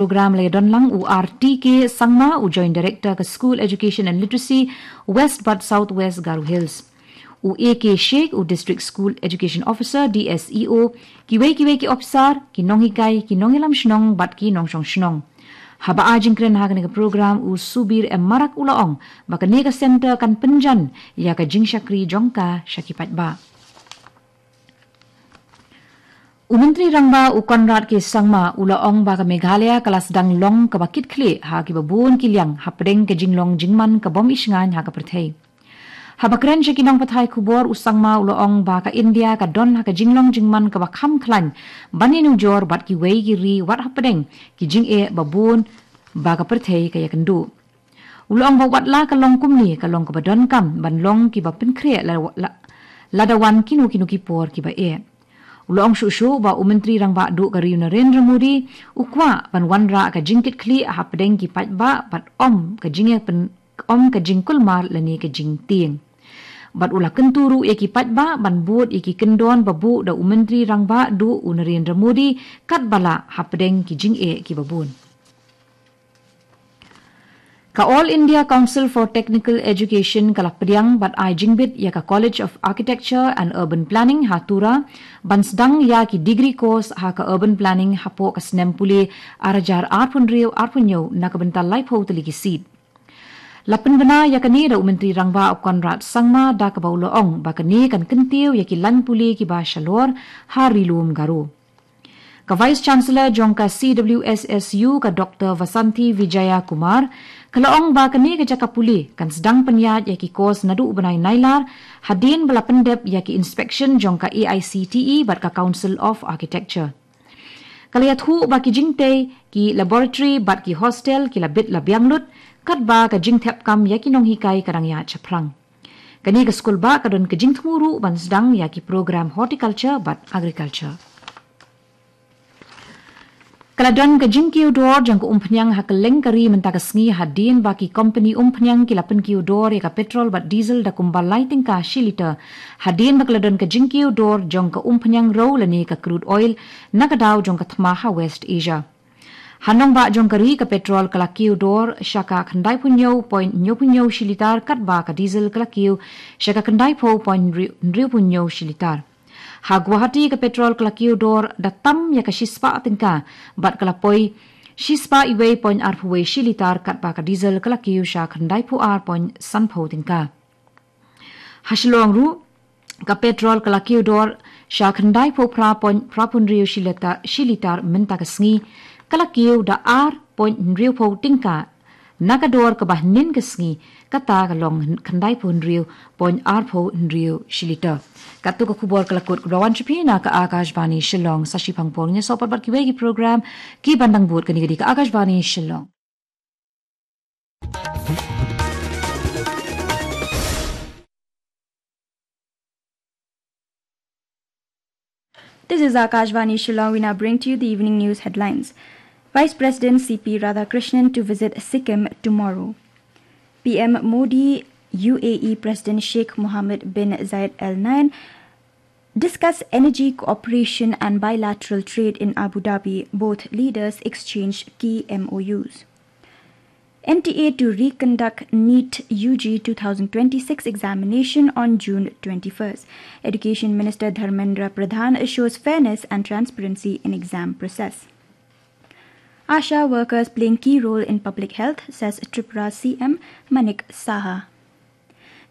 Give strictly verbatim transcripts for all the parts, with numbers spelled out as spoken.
Program la ïadon lang u R T K Sangma, u Joint Director ka School Education and Literacy, West bad South West Garo Hills. U A K Sheikh, u District School Education Officer, D S E O, kiwei kiwei ki ophisar, ki nonghikai, ki nongïalam shnong bad ki nongshong shnong. Haba ai jingkren ha kane ka program, u Subir M Marak u la ong ba kane ka center kan pynjan ïa ka jingshakri jong ka sha ki paidbah. U Myntri Rangbah u Conrad K Sangma u la ong ba ka Meghalaya ka la sdang long kaba kitkhlieh ha kiba bun ki liang hapdeng ka jinglong jingman ka bym ishngaiñ ha ka pyrthei. Haba kren sha ki nongpathai khubor, u Sangma u la ong ba ka India ka don ha ka jinglong jingman kaba kham khlaiñ ban ïanujor bad kiwei ki ri wat hapdeng ki jingeh ba bun ba ka pyrthei ka ïakynduh. U la ong ba wat la ka long kumne, ka long kaba donkam ban long kiba pynkhreh la, la, lada wan kino kino ki por kiba eh. U la ong shuh shuh ba u Myntri Rangbah Duh ka ri u Narendra Modi u kwah ban wanrah ka jingkitkhlieh hapdeng ki paidbah bad ym ka jingïapyn-, ym ka jingkulmar lane ka jingtieng. Bad u la kyntu ruh ïa ki paidbah ban bud ïa ki kyndon ba buh da u Myntri Rangbah Duh u Narendra Modi katba lah hapdeng ki jingeh kiba bun. Ka All India Council for Technical Education ka la pdiang bad ai jingbit ïa ka College of Architecture and Urban Planning ha Tura ban sdang ïa ki degree course ha ka Urban Planning hapoh ka snem pule ar hajar arphew hynriew arphew hynñiew na ka bynta laiphew tylli ki seat. La pynbna ïa kane da u Myntri Rangbah u Conrad Sangma da kaba u la ong ba kane kan kyntiew ïa ki lain pule kiba shalor ha Ri Lum Garo. Ka Vice Chancellor jong ka C W S S U, ka Doctor Vasanthi Vijaya Kumar, ka la ong ba kane ka jaka pule kan sdang pynïaid ïa ki course naduh u bnai Nailar, hadien ba la pyndep ïa ki inspection jong ka A I C T E bad ka Council of Architecture. Ka la ïathuh ba ki jingtei, ki laboratory bad ki hostel ki la bit la biang lut, katba ka jingthep kam ïa ki nonghikai ka dang ïaid shaphrang. Kane ka skul bah ka don ka jingthmu ruh ban sdang ïa ki program horticulture bad agriculture. Ka la don ka jingkiew dor jong ka umphniang ha kylleng ka ri mynta ka sngi hadien ba ki kompani umphniang ki la pynkiew dor ïa ka petrol bad diesel da kumba lai tyngka shi liter. Hadien ba ka la don ka jingkiew dor jong ka umphniang rew lane ka crude oil na ka daw jong ka thma ha West Asia. Ha nongbah jong ka ri ka petrol ka la kiew dor sha ka khyndaiphew hynñiew point hynñiewphew hynñiew shi liter katba ka diesel ka la kiew sha ka khyndaiphew point hynriewphew hynñiew shi liter. Ha Guwahati ka petrol ka la kiew dor da tam ïa ka shispah tyngka bad ka la poi shispah iwei point arphew wei shi liter katba ka diesel ka la kiew sha khyndaiphew ar point sanphew tyngka. Ha Shillong ruh ka petrol ka la kiew dor sha khyndaiphew phra point phraphew hynriew shi liter, shi liter mynta ka sngi, ka la kiew da ar point hynriewphew tyngka na ka dor kaba hynnin ka sngi, kata ka long khyndaiphew hynriew point arphew hynriew shi liter. Katto ka khubor ka la kut kaba wan sha phi na ka Akashvani Shillong. Sa shipang por ngin ïasoh pat bad kiwei ki program kiban dang bud. Kane ka dei ka Akashvani Shillong. This is Akashvani Shillong. We now bring to you the evening news headlines. Vice President C P Radhakrishnan to visit Sikkim tomorrow. P M Modi, U A E President Sheikh Mohammed bin Zayed Al Nahyan discuss energy cooperation and bilateral trade in Abu Dhabi. Both leaders exchange key M O Us. N T A to reconduct NEET U G two thousand twenty-six examination on June twenty-first. Education Minister Dharmendra Pradhan assures fairness and transparency in exam process. ASHA workers playing key role in public health, says Tripura C M Manik Saha.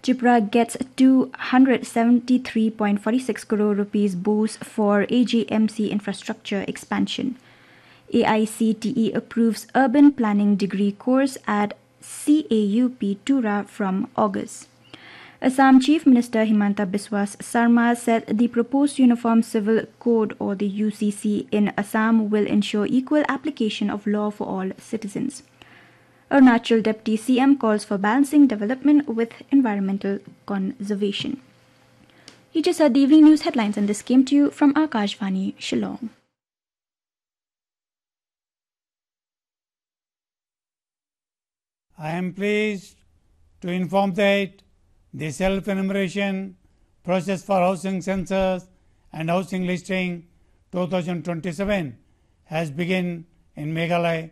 Tripura gets two hundred seventy-three point four six crore rupees boost for A G M C infrastructure expansion. A I C T E approves urban planning degree course at C A U P Tura from August. Assam Chief Minister Himanta Biswa Sarma said the proposed Uniform Civil Code, or the U C C, in Assam will ensure equal application of law for all citizens. Arunachal Deputy C M calls for balancing development with environmental conservation. You just heard the evening news headlines, and this came to you from Akashvani Shillong. I am pleased to inform that the self-enumeration process for housing census and housing listing two thousand twenty-seven has begun in Meghalaya.